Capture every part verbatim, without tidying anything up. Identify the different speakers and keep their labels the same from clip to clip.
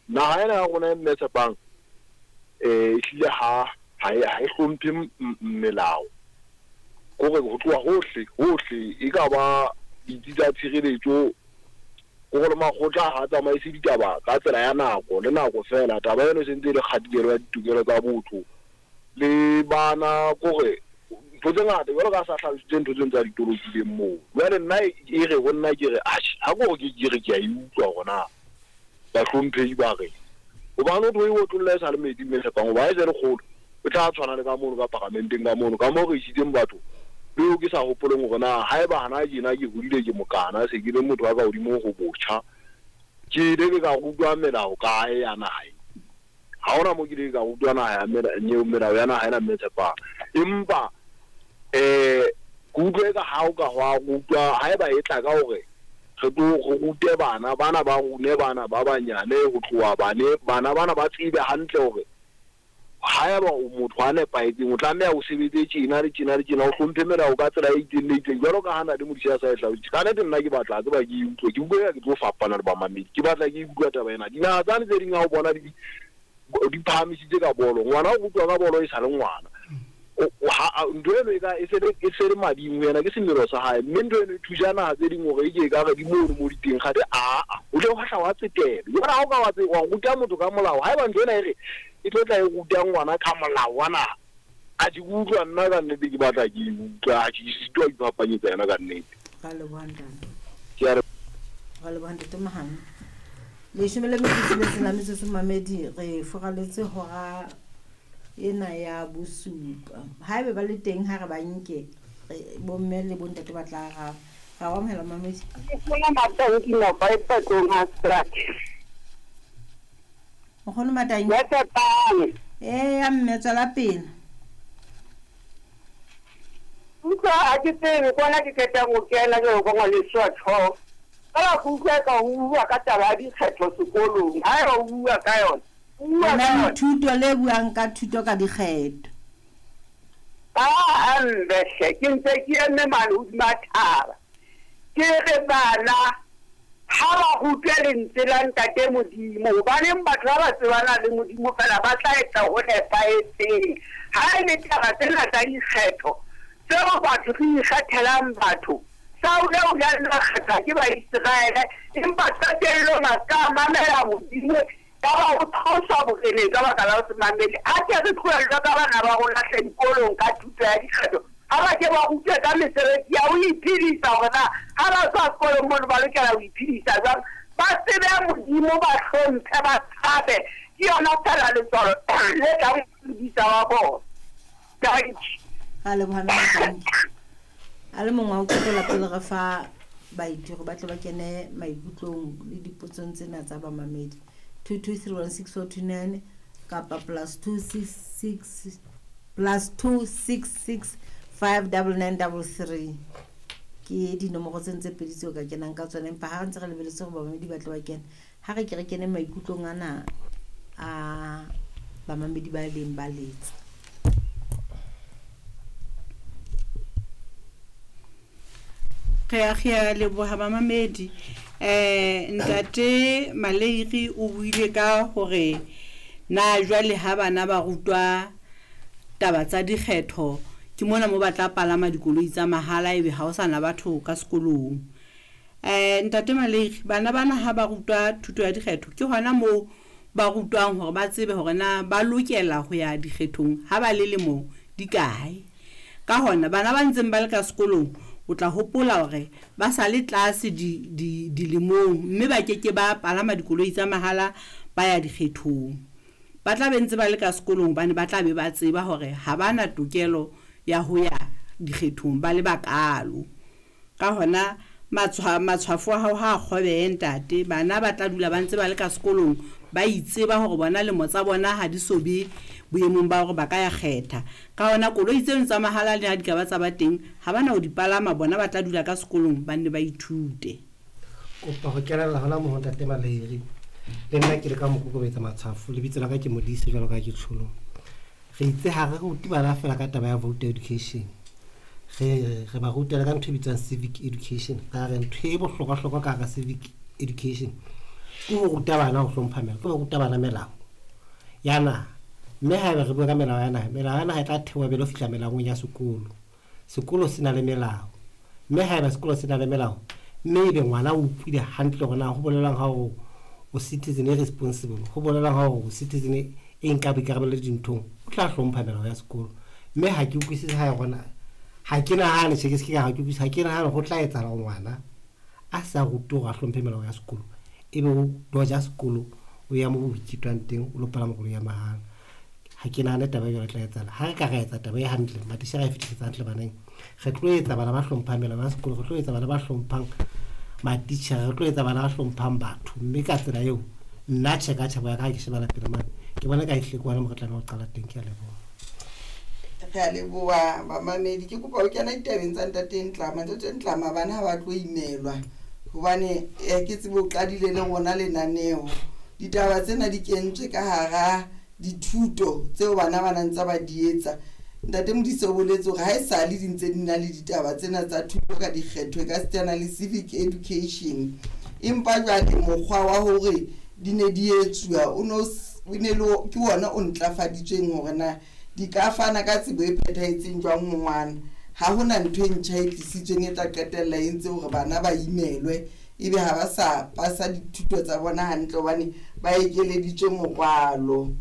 Speaker 1: Naha ena ya rona e mme Tshepang eh ehlile ha ha e ha e hlomphe melao. Kore ho tloha hohle hohle e ka ba ditsi tsa tshireletso, kore le makgotla ha tsamaise ditaba ka tsela ya nako le nako fela. Taba eno e sentse e le kgatikelo ya ditokelo tsa botho le bana, kore ntho tse ngata jwalo ka sa hlalositse ntho tseno tsa ditolokileng moo. Jwale nna e re ho nna ke re atjhe, ha ke hore ke re ke a e utlwa hore na bahlomphehi ba reng, hobane ho e otlolla e sa le metsi mme Tshepang, hoba ha e se le kgolo e tla tshwana le ka mono ka paramenteng ka mono ka moo re isitseng batho leo ke sa hopoleng hore na haeba hana tjena ke hodile ke mokana, se ke le motho wa ka hodimo ho botjha, ke ile ke ka rutwa melao kae ya naha e. Ha hona moo ke ile ka rutwa naha ya melao ya naha ena mme Tshepang. Empa eh ke utlwe ka ha o ka hwa rutwa haeba e tla ka hore re tlo re rute bana bana ba rune bana ba banyane ho tloha bane bana bana ba tsebe hantle hore haeba o motho a nepahetseng o tlameha o sebetse tjena le tjena le tjena, o hlomphe melao ka tsela e itseng le itseng, jwalo ka ha na le Modise a sa e hlalositse. Ka nnete nna ke batla tseba ke e utlwe, ke utlwe ke tlo fapana le bamamedi, ke batla ke utlwa taba ena. Dinaha tsane tse ding ha o bona di di phahamisitse ka bolo, ngwana o rutwa ka bolo e sa le ngwana. Ntho eno e ka e se e se le mading ho yena, ke semelo sa hae, mme ntho eno e thusa naha tse ding hore e ke e ka re di mono mo di teng kgate aa o tle o hahla wa tsetelo. Jwale ha o ka wa wa ruta motho ka molao, haeba ntho ena e re e tlo tla e ruta ngwana ka molao wa naha, a ke utlwa nna ka nnete ke batla ke utlwa, ha ke sitwa ho iphapanyetsa yona ka nnete.
Speaker 2: Ra leboha ntate.
Speaker 1: Ke a
Speaker 2: Ra leboha ntate Mahane. Leshome le metso e tsheletseng la metsotso mamedi, re furaletse hora ena ya bosupa. Haebe ba le teng ha re ba nke, bomme le bontate ba tla araba. Ra o amohela mamedi.
Speaker 3: Nkgono Matanki Nopa e Patlong ha Strat.
Speaker 2: Nkgono Matanki.
Speaker 3: Ya Tshepang.
Speaker 2: Eh ya mme tswela pele.
Speaker 3: Utlwa ha ke tsebe kwana ke qetang ho kena jwalo ka ngwaneso wa tjho. Ka ba utlwa ka ho bua ka taba ya dikgetho sekolong. Haeba o bua ka yona.
Speaker 2: Bua ka thuto le buang ka thuto ka dikgetho.
Speaker 3: Ah, mbe hle, ke ntse ke eme mane hodima thaba. Ke re bana ha ba rutwe lentswe la Ntate Modimo, hobaneng batho ba ba tsebana le Modimo fela ba tla etsa ho nepahetseng. Ha e le taba tsena tsa dikgetho tseo batho re ikgethelang batho, Saule o ile a kgethwa ke Baiseraele, empa qetellong a ska mamela Modimo, ka ba o tloswa boreneng ka baka la ho se mamele. A ke re tlohellwe ka bana ba rona hle dikolong ka thuto ya dikgetho, ha ba ke ba rutwe ka mesebetsi ya ho iphedisa hore na ha ba tswa sekolong mono ba lokela ho iphedisa jwang. Ba tsebe Modimo, ba hlomphe, ba tshabe. Ke yona fela letswalo le tlang ho modisa wa bona. Dankie.
Speaker 2: Ra leboha mme Matanki. A le mongwe wa ho qetela pele re fa baithuti ba tle ba kene maikutlong le dipotsong tsena tsa bamamedi. two two three one six four two nine kapa plus two six six plus two six six five double nine double three ke dinomoro tse ntse pedi tseo ka kenang ka tsona, empa ha re ntse re lebeletse hore bamamedi ba tle ba kene, ha re ke re kene maikutlong ana a bamamedi ba leng ba letsa.
Speaker 4: Re a re a leboha bamamedi. Eh ntate Maleiri o buile ka hore na jwale ha bana ba rutwa taba tsa dikgetho ke mona mo ba tla palama dikoloi tsa mahala ebe ha o sana batho ka sekolong. Eh ntate Maleiri, bana bana ha ba rutwa thuto ya dikgetho ke hona moo ba rutwang hore ba tsebe hore na ba lokela ho ya dikgethong ha ba le lemo di kae. Ka hona bana ba ntseng ba le ka sekolong o tla hopola hore ba sa le tlase di di dilemong mme ba keke ba palama dikoloi tsa mahala ba ya dikgethong. Ba tla be ntse ba le ka sekolong bane ba tla be ba tseba hore ha ba na tokelo ya ho ya dikgethong ba le bakalo. Ka hona matshwa matshwafo a hao ha kgobehe ntate, bana ba tla dula ba ntse ba le ka sekolong ba itseba hore bona lemo tsa bona ha di so be boemong ba hore ba ka ya kgetha. Ka hona koloi tseno tsa mahala le ha di ka ba tsa ba teng ha bana ho di palama, bona ba tla dula ka sekolong ba nne ba ithute.
Speaker 5: Kopa ho kenella hona moo ntate Maleiri. Le nna ke le ka mokokobetsa matshwafo, lebitso la ka ke Modise jwalo ka ke tsholo. Re itse ha re rute bana fela ka taba ya voter education. Re re ba ruta ka ntho e bitswang civic education. Ka re ntho e bohlokwa-hlokwa ka hara civic education Ke ho ruta bana ho hlompha melao, ke ho ruta bana melao ya naha. Mme haeba re bua ka melao ya naha, melao ya naha e tla theoha pele ho fihla melaong ya sekolo. Sekolo se na le melao. Mme haeba sekolo se na le melao, mme ebe ngwana o utlwile hantle hore na ho bolelang ha o o citizen e responsible, ho bolelang ha o citizen e nka boikarabelo dinthong, o tla hlompha melao ya sekolo. Mme ha ke utlwisise ha rona ha ke nahane tjhe ke se ke ha ke utlwisise ha ke nahane ho tla etsahala hore ngwana a sa rutwe hore a hlomphe melao ya sekolo, ebe o doja sekolo o ya moo ho ithutwang teng o lo palama koloi ya mahala. Ha ke nahane taba e jwalo e tla etsahala. Ha re ka ra etsa taba e hantle, matitjhere a e fetisetsa hantle baneng, re tlo etsa bana ba hlomphang melao ya sekolo, re tlo etsa bana ba hlomphang matitjhere, re tlo etsa bana ba hlomphang batho. Mme ka tsela eo nna tjhe ka tjhebo ya ka ha ke shebela pele mane, ke bona ka ehlile ke hona moo re tlameha ho qala teng. Ke a leboha.
Speaker 6: Re a leboha bamamedi. Ke kopa ho kena ditabeng tsa ntate Ntlama. Ntate Ntlama, bana ha ba tlo imelwa hobane eh, ke tsebe o qadile le rona lenaneo. Ditaba tsena di kentswe ka hara dithuto tseo bana ba nang tsa ba di etsa. Ntate Modise o boletse hore ha esale di ntse di na le ditaba tsena tsa thuto ka dikgetho e ka sitana le civic education, empa jwale mokgwa wa hore di ne di etsuwa o no s- o ne le o- ke ona o ntlafaditsweng hore na di ka fana ka tsebo e phethahetseng jwang ho ngwana. Ha hona ntho e ntjha e tlisitsweng e tla qetella e entse hore bana ba imelwe, ebe ha ba sa pasa dithuto tsa bona hantle hobane ba ekeleditswe morwalo.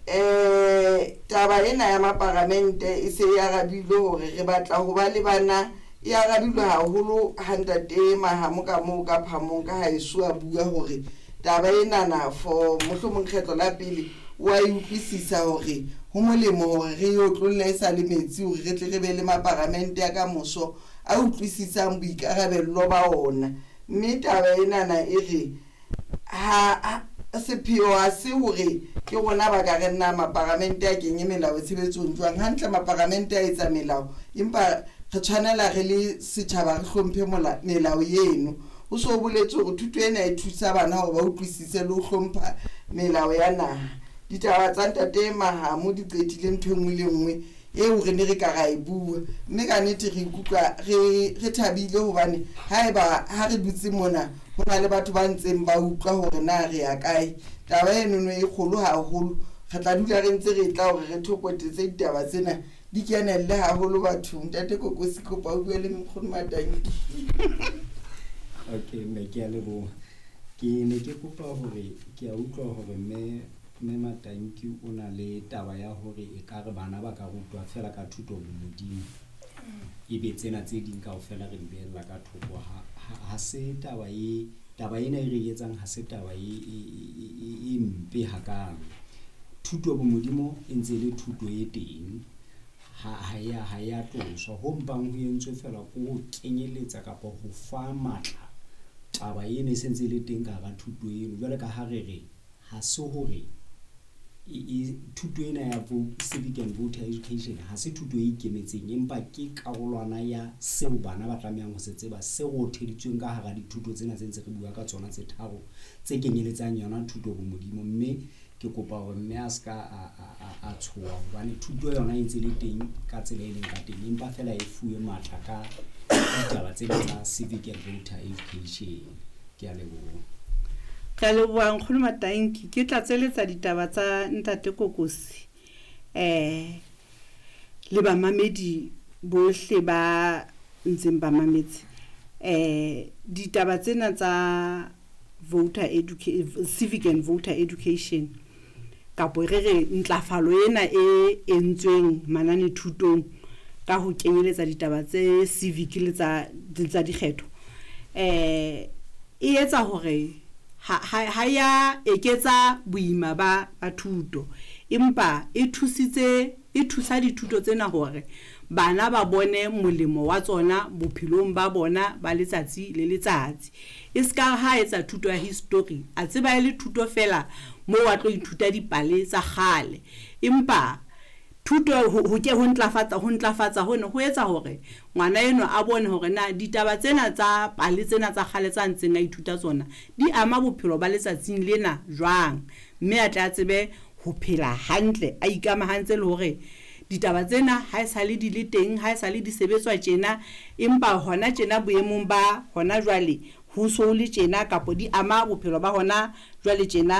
Speaker 6: Eh taba ena ya maparamente e se e arabilwe hore re batla ho ba le bana, e arabilwe haholo ha ntate Mahamo ka moo ka phamong ka haeso a bua hore taba enana for mohlomong kgetlo la pele wa e utlwisisa hore ho molemo hore re e otlolle e sa le metsi hore re tle re be le maparamente a ka moso a utlwisisang boikarabello ba ona. Mme taba enana e re ha ha- sepheo ha se hore ke rona ba ka re nna maparamente a kenye melao tshebetsong jwang. Hantle maparamente a etsa melao, empa re tshwanela re le setjhaba re hlomphe mola- melao eno. Ho so boletswe hore thuto ena e thusa bana hore ba utlwisise le ho hlompha melao ya naha. Ditaba tsa ntate Mahamo di qetile ntho e nngwe le nngwe eo re ne re ka ra e bua, mme ka nnete re ikutlwa re re thabile hobane haeba ha re dutse mona ho na le batho ba ntseng ba utlwa hore na re ya kae. Taba enono e kgolo haholo, re tla dula re ntse re tla hore re thopotetse ditaba tsena di kenelle haholo bathong. Ntate Kokosi, kopa o bue le nkgono Matanki.
Speaker 7: Okay, mme ke a leboha. Ke ne ke kopa hore ke a utlwa hore mme mme Matanki o na le taba ya hore ekare bana ba ka rutwa fela ka thuto bomodimo, ebe tsena tse ding kaofela re di behella ka thoko. Ha ha ha se taba e taba ena e re etsang, ha se taba e e e e mpe hakalo. Thuto bomodimo e ntse e le thuto e teng, ha ha ya ha ya tloswa. Ho mpang ho entswe fela ke ho kenyeletsa kapa ho fa matla taba ena e sentse e le teng ka hara thuto eno. Jwale ka ha re re ha se hore e e thuto ena ya civic and voter education ha se thuto e ikemetseng, empa ke karolwana ya seo bana ba tlamehang ho se tseba, se rotheditsweng ka hara dithuto tsena tse ntse re bua ka tsona tse tharo tse kenyeletsang yona thuto bomodimo. Mme ke kopa hore mme a ska a a a tshoha hobane thuto yona e ntse le teng ka tsela e leng ka teng, empa fela e fuwe matla ka ditaba tsena tsa civic and voter education. Ke a leboha.
Speaker 4: Re a leboha nkgono Matanki. Ke tlatseletsa ditaba tsa ntate Kokosi eh le bamamedi bohle ba ntseng ba mametse. Eh ditaba tsena tsa voter education, civic and voter education, kapo re re ntlafalo ena e entsweng manane thutong ka ho kenyeletsa ditaba tse civic le tsa tsa dikgetho, eh e etsa hore ha ha ya eketsa boima ba ba thuto, empa e thusitse e thusa dithuto tsena hore bana ba bone molemo wa tsona bophelong ba bona ba letsatsi le letsatsi. E ska ha etsa thuto ya history, a tseba e le thuto fela moo wa tlo ithuta dipale tsa kgale, empa thuto ho ke ho ntlafatsa ho ntlafatsa hona ho etsa hore ngwana eno a bone hore na ditaba tsena tsa pale tsena tsa kgale tsa ntseng a ithuta tsona di ama bophelo ba letsatsing lena jwang, mme a tla tsebe ho phela hantle a ikamahantse le hore ditaba tsena ha e sale di le teng, ha e sale di sebetswa tjena, empa hona tjena boemong ba hona jwale ho so le tjena kapo di ama bophelo ba hona jwale tjena.